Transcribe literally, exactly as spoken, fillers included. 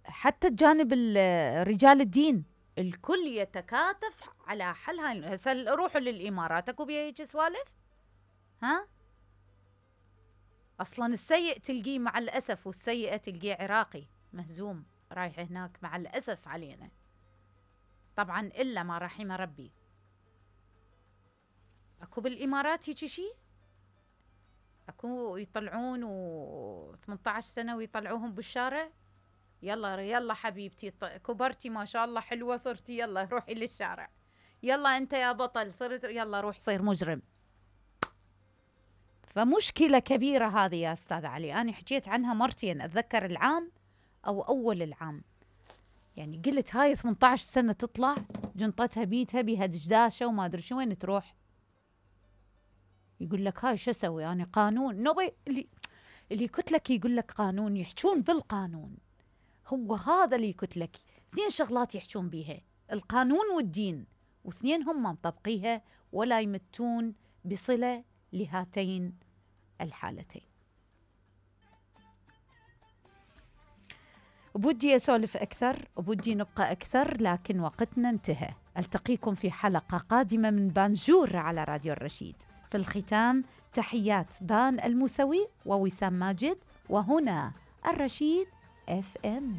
حتى الجانب رجال الدين الكل يتكاتف على حل هاي. هسه روحوا للإمارات اكو بيها هيك سوالف؟ ها اصلا السيء تلقيه مع الاسف، والسيئة تلقيه عراقي مهزوم رايح هناك مع الاسف علينا. طبعا الا ما رحم ربي. اكو بالامارات هيك شيء؟ اكو يطلعون و ثمانية عشر سنة ويطلعوهم بالشارع؟ يلا يلا حبيبتي كبرتي ما شاء الله حلوة صرتي، يلا روحي للشارع، يلا انت يا بطل صرت، يلا روح صير مجرم. فمشكلة كبيرة هذه يا استاذ علي. انا حكيت عنها مرتين، اتذكر العام او اول العام، يعني قلت هاي ثمانية عشر سنة تطلع جنطتها بيتها بيها دشداشة وما ادري شو، وين تروح؟ يقول لك هاي شو اسوي انا؟ قانون نبي اللي اللي كتلك يقول لك قانون، يحجون بالقانون. هو هذا اللي كتلك اثنين شغلات يحجون بيها، القانون والدين، واثنين هم مطبقيها ولا يمتون بصلة لهاتين الحالتين. بودي أسولف أكثر، بودي نبقى أكثر، لكن وقتنا انتهى. ألتقيكم في حلقة قادمة من بانجور على راديو الرشيد. في الختام تحيات بان الموسوي ووسام ماجد، وهنا الرشيد اف ام.